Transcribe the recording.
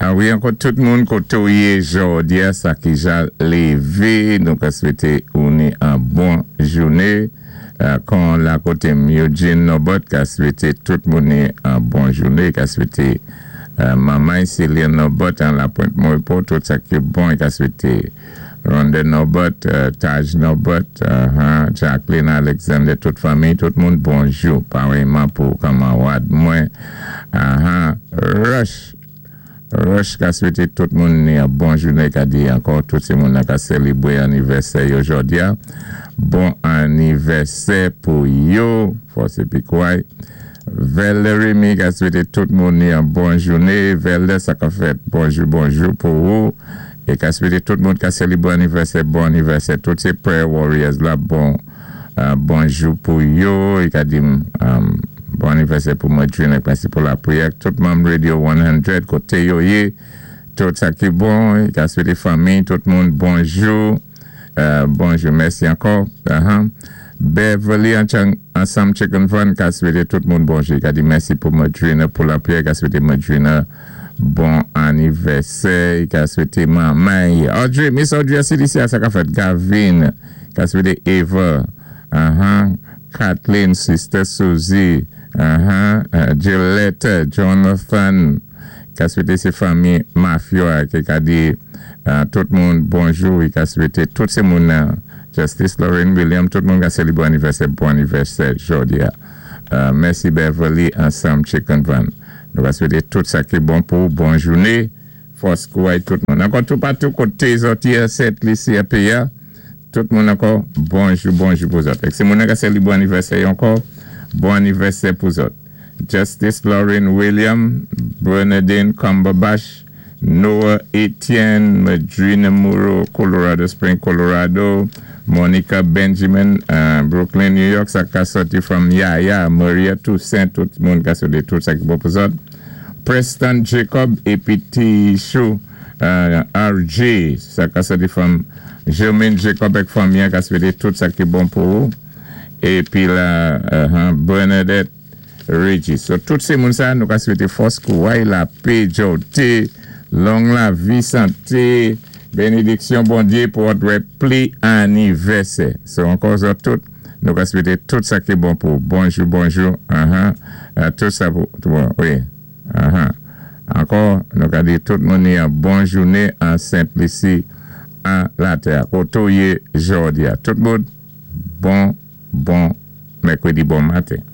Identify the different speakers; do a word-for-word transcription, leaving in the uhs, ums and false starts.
Speaker 1: A wi, ankò tout moun koté ou yé jòdi-a, sa ki ja lévé, nou ka swété ou ni an bon jouné. Kon la koté Eugene Nobot, ka swété tout moun ni an bon jouné, ka swété maman Céline Nobot an la Pointe Maurepo, tout sa ki bon, ka swété Ronda Nobot, Taj Nobot, Jacqueline Alexander, tout fanmi, tout moun bonjou, parèyman pou kanmawad mwen, Rush, Rush ka swété tout moun ni an bon jouné, ka di ankò tout sé moun ka sélébwé anivèsè yo jòdi-a. Bon anivèsè pou yo, fòs épi kouway. Valerie mi ka swété tout moun ni an bon jouné. Velde sa ka fèt bonjou bonjou pou ou. É ka swété tout moun ka sélébwé anivèsè, bon anivèsè. Tout sé prayer warriors la, bon bonjou pou yo. É ka di bon anivèsè pou mwen mèsi pou lapriyè. Tout manm Radio san koté yo yé. Tout sa ki bon, é ka swété fanmi, tout moun bonjou. Bonjou, mèsi ankò. Beverly ansanm Chicken Fun ka swété tout moun bonjou. Ka di mèsi pou Madrina pou lapriyè. Ka swété Madrina bon anivèsè. Ka swété manman. Audrey, Miss Audrey C D C sa ka fèt. Gavin. Ka swété Eva. Kathleen, Sister Susie. Gillette, Jonathan. Ka swété sé fanmi Mafio ki ka di tout moun bonjou. Ka swété tout sé moun Justice Lorraine William, tout moun ka sélébwé anivèsè, bon anivèsè jòdi-a. Mèsi Beverly ansanm Chicken Van. Nou ka swété tout sa ki bon pou bon jouné. Fòs kouway tout moun. Ankò tout patou koté zòt yé Sent Lisi a péyi-a. Tout moun ankò, bonjou, bonjou pou zòt. Ek sé moun ka sélébwé anivèsè ankò, bon anivèsè pou zòt. Justice Lorraine William, Bernadine Cumberbatch, Noah Etienne, Madrina Muro, Colorado Spring, Colorado, Monica Benjamin, uh, Brooklyn, New York, sa ka soti from Yaya, Maria Toussaint, tout moun ka soti tout sa ki bon pou zòt. Preston Jacob, épi Chou, uh, R J, sa ka soti from Jermaine Jacob ek fanmi ka swété tout sa ki bon pou ou. Épi la, uh, Bernadette Regis. So, tout sé moun sa, nou ka swété fòs kouway, lapè, jòté, long lavi, santé, bénédiksyon Bondyé pou wè pli anivèsè. So, ankò zòt tout, nou ka swété tout sa ki bon pou bonjou, bonjou, uh-huh, uh, tout sa pou, wi, uh-huh. Ankò, nou ka di tout moun ni an bon jouné an Sent Lisi an latè. Koto yé jòdi-a. Tout moun, bon, bon, mèkwédi bon maten.